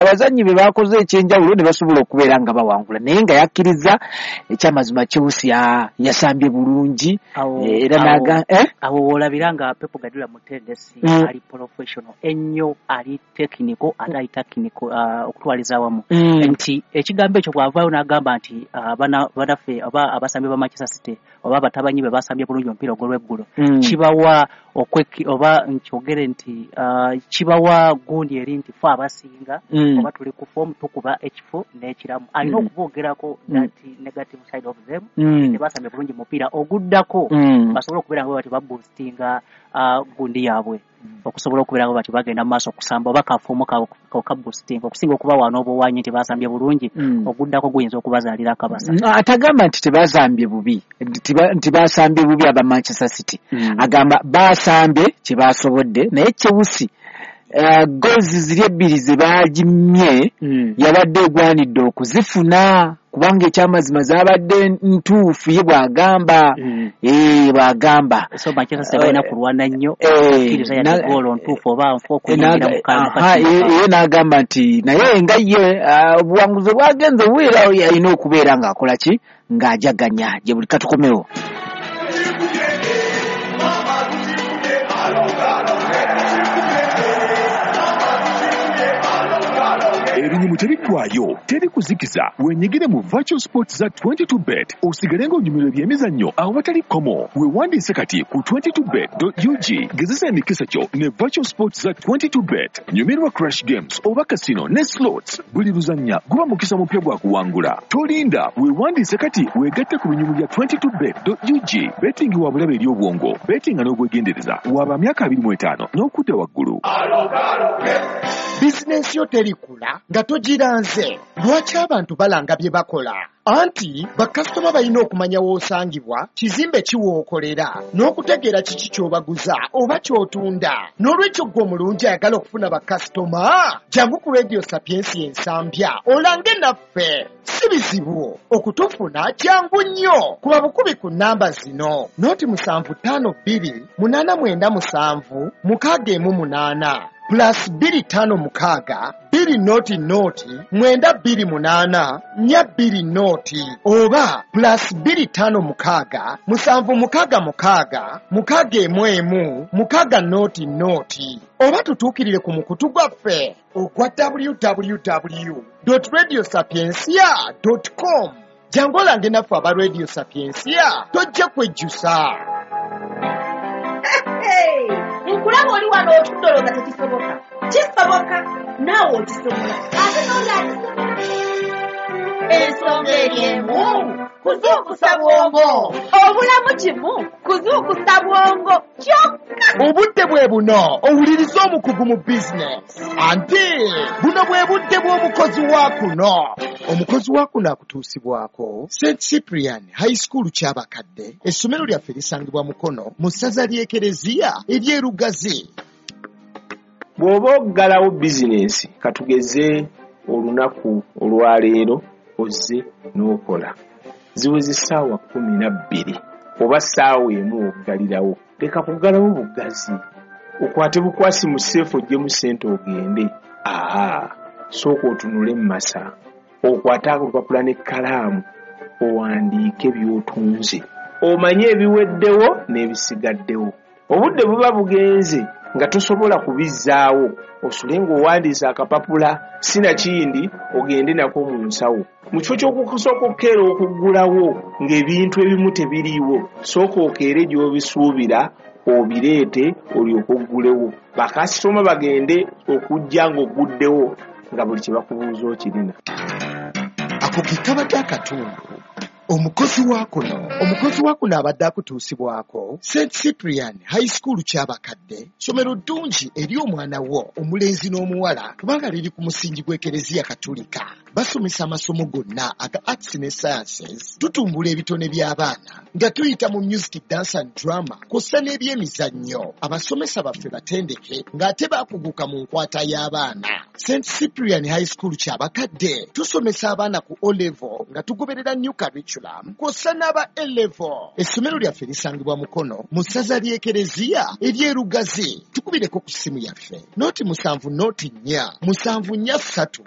Abazannyi be bakoze ekyenjawulo ne basobola okubeera nga bawangula, naye nga yakkiriza ekyamazima Chelsea yasambye bulungi. Era naga Awo woolabira nga Pep Guardiola mutendesi ali professional ennyo, ali technical ate ali technical okutwaliza awamu, nti ekigambo ekyo bw'avaayo n'agamba nti banaffe oba abasambi ba Manchester City oba abatabanyi be basambye bulungi omupiira ogw'olweggulo, kibawa okweki oba nkyogere nti kibawa gundi eri nti fe abasinga oba tuli ku form, tukuba ekifo n'ekiramu. Alina okuboogerako that negative side of them, tebasambye bulungi mupiira oguddako, basobole okubeera nga bati baboostinga gundi yaabwe okusobola okubeera nga bati bagenda mu maaso okusamba oba kafuumu kaboostinga okusinga okubawa n'obuwanyi nti basambye bulungi, oguddako guyinza okubazaalira akabasa. Atagamba nti tebasambye bubi, nti basambye bubi aba Manchester City. Agamba basambye kye basobodde, naye Chelsea goals ziri ebbiri ze bagimye yabadde egwanidde okuzifuna, kubanga ekyamazima zabadde ntuufu, ye bw'agamba. Bw'agamba. So Manchester City balina kulwana nnyo okukkiriza yadde goolo ntuufu oba nfu okuyingira mu Ye n'agamba nti naye nga ye obuwanguzi bwagenze bubeera, alina okubeera ng'akola ki, ng'ajaganya gye buli. Katukomewo. Ebinyumu tebiggwayo, teri kuzikiza. Wenyigire mu virtual sports za 22 Bet, osigale ng'onyumirwa ebyemizannyo awatali kkomo. Weewandiise kati ku 22bet.ug. Gezesa emikisa gyo ne virtual sports za 22 Bet. Nyumirwa crash games oba casino ne slots. Buli luzannya guba mukisa mupya gwa kuwangula. Tolinda, weewandiise kati weegatte ku binyumu bya 22bet.ug. Betting wa bulabe eri obwongo. Bettinga n'obwegendereza. Waba myaka 25 n'okudda waggulu. Bizinensi yo terikula nga togiranze. Lwaki abantu balanga bye bakola? Anti bakasitoma balina okumanya w'osangibwa, kizimbe kiwookolera, n'okutegeera kiki ky'obaguza oba ky'otunda. N'olwekyo ggwe omulungi ayagala okufuna bakasitoma, jangu ku Radio Sapiensi Ensambya olange naffe. Si bizibu okutufuna, kyangu nnyo. Kuba bukubi ku nnamba zino: 0752 897 618, +256 200 928 420, oba +256 766 611 600, oba tutuukirire ku mukutu gwaffe ogwa www.radiosapiencia.com. Jangu olange naffe aba Radio Sapiencia, tojja kwejjusa. Nkulaba oli wano otudde olowooza tekisoboka. Kisoboka, naawe okisobola, ate n'oli akisobola. Ensonga eri emu: kuzuukusa bwongo. Obulamu kimu kuzuukusa bwongo kyokka. Obudde bwe buno owuliriza omukugu mu bizinesi, anti buno bwe budde bw'omukozi wa kuno. Omukozi wa kuno akutuusibwako St Cyprian High School Kyabakadde. Essomero lyaffe lisangibwa Mukono mu ssaza ly'Ekereziya ery'Erugazi. Bw'oba oggalawo bizinensi, katugeze olunaku olwaleero ozze n'okola, ziweze essaawa 12 oba ssaawa 1, oggalirawo. Leka kuggalawo buggazi, okwate bukwasi mu safe oggyemu ssente ogende. Aa, sooka otunule mu masa, okwate olupapula n'ekkalaamu, owandiike by'otunze, omanye ebiweddewo n'ebisigaddewo. Obudde buba bugenze nga tosobola kubizzaawo. Osule ng'owandiise akapapula, sinakindi ogende nako mu nsawo. Mu kifo ky'okusooka okukeera okuggulawo ng'ebintu ebimu tebiriiwo, sooka okeere gy'obisuubira obireete, olyoke oggulewo, bakasitoma bagende okujja ng'ogguddewo nga buli kye bakubuuza okirina. Ako ke kabadde akatundu omukozi wa kuno. Omukozi wa kuno abadde akutuusibwako St Cyprian High School Kyabakadde. Ssomero ddungi eri omwana wo omulenzi n'omuwala, kubanga liri ku musingi gw'Ekereziya Katulika. Basomesa amasomo gonna aga arts ne sciences. Tutumbula ebitone by'abaana nga tuyita mu music, dance and drama, kw'ossa n'ebyemizannyo. Abasomesa baffe batendeke ng'ate bakuguka mu nkwata y'abaana. St Cyprian High School Kyabakadde tusomesa abaana ku O level nga tugoberera new curriculum, kw'ossa n'aba A level. Essomero lyaffe lisangibwa Mukono mu ssaza ly'Ekereziya ery'Erugazi. Tukubireko ku ssimu yaffe 070 04 743.